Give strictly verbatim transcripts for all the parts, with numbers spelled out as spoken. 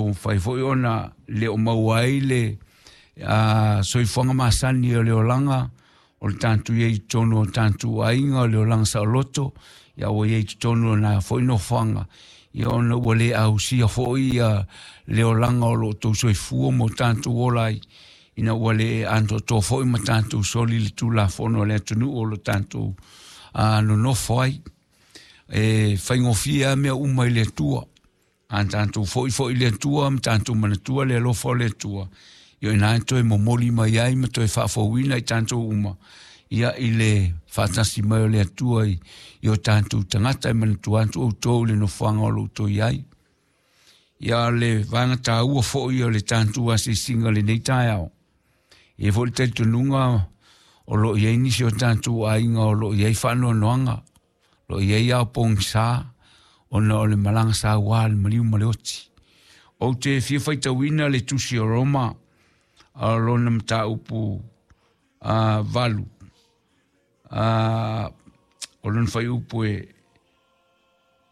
lo mafai foi ona le o maua ai le a soifuaga masani o le olaga o le tatou i ai i totonu o tatou aiga o le olaga saoloto, ia ua i ai i totonu o na foi nofoaga, ia ona ua le ausia foi ia le olaga o lo outou soifua ma o tatou ola ai, ina ua le atoatoa foi ma tatou soli le tulafono a le atunuu o lo tatou a nonofo ai. E faigofie lava mea uma i le Atua. A tatou foi foi i le Atua ma tatou manatua le alofa o le Atua, ia o ina e toe momoli mai ai ma toe faafouina i tatou uma, ia i le faatasi mai o le Atua i, i o tatou tagata e manatua atu outou i le nofoaga o lo outou i ai. Ia le vaega taua foi o le tatou asiasiga lenei taeao. E i ai foi le talitonuga o lo o i ai nisi o tatou aiga o lo o i ai faanoanoaga, o lo o i ai ao pogisa ona o le malaga sauā le maliu ma le oti. Ou te fia faitauina le tusi o Roma a lona mataupu a valu a o lona fuaiupu e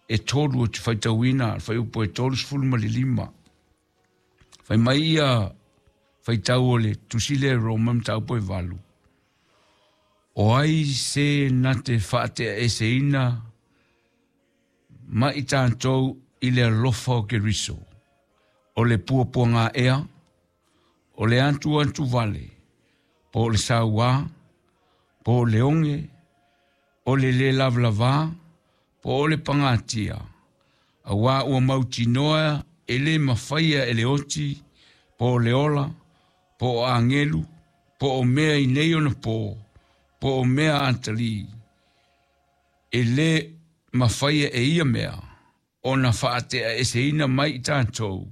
e tolu ou te faitauina le fuaiupu e tolu sefulu ma le lima. Fai mai ia faitau o le tusi lea e Roma mataupu e valu. O ai se na te faateaeseina ma i tatou i le alofa o Keriso, o le puapuagaea, o le atu atu vale, po o le sauā, po o le oge, o le le lavalava, po o le pagatia, auā ua mautinoa e le mafaia e le oti, po o le ola, po o agelu, po o mea i nei ona pō, po o mea atalii, e le mafaia e ia mea ona faateaeseina mai i tatou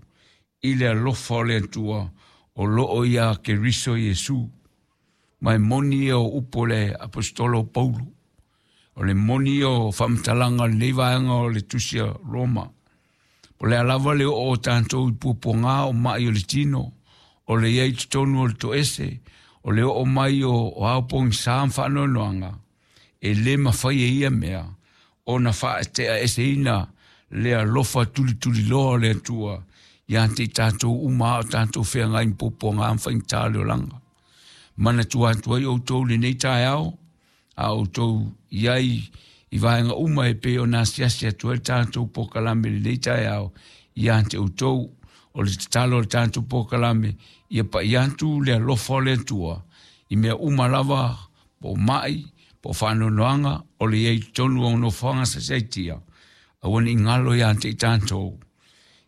i le alofa o le Atua o loo iā Keriso Iesu. Ma e moni ia o upu o le aposetolo o Paulo, o le moni ia o faamatalaga o lenei vaega o le tusi a Roma. Po o le a lava le oo o tatou i puapuaga o mai o le tino, o le i ai i totonu o le toese, o le oo mai o, o ao pogisa ma faanoanoaga, e le mafai e ia mea ona faateaeseina le alofa tulituliloa o le Atua ia te i tatou uma a o tatou feagai ma puapuaga ma faigata o le olaga. Manatua atu ai outou i lenei taeao, a outou i ai i vaega uma e pei ona asiasi atu ai le tatou polokalame i lenei taeao ia te outou. O le tatalo o le tatou polokalame, ia pai atu le alofa o le Atua i mea uma lava, po o mai, po o faanoanoaga, o le i ai i totonu o nofoaga saisaitia, aua ne i galo ia te i tatou.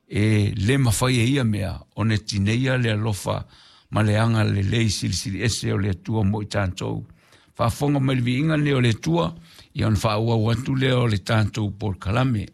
E le mafai e ia mea ona tineia le alofa ma le agalelei silisili ese o le Atua mo i tatou. Faafofoga mai le viiga lenei o le Atua, ia ona faaauau atu lea o le tatou polokalame.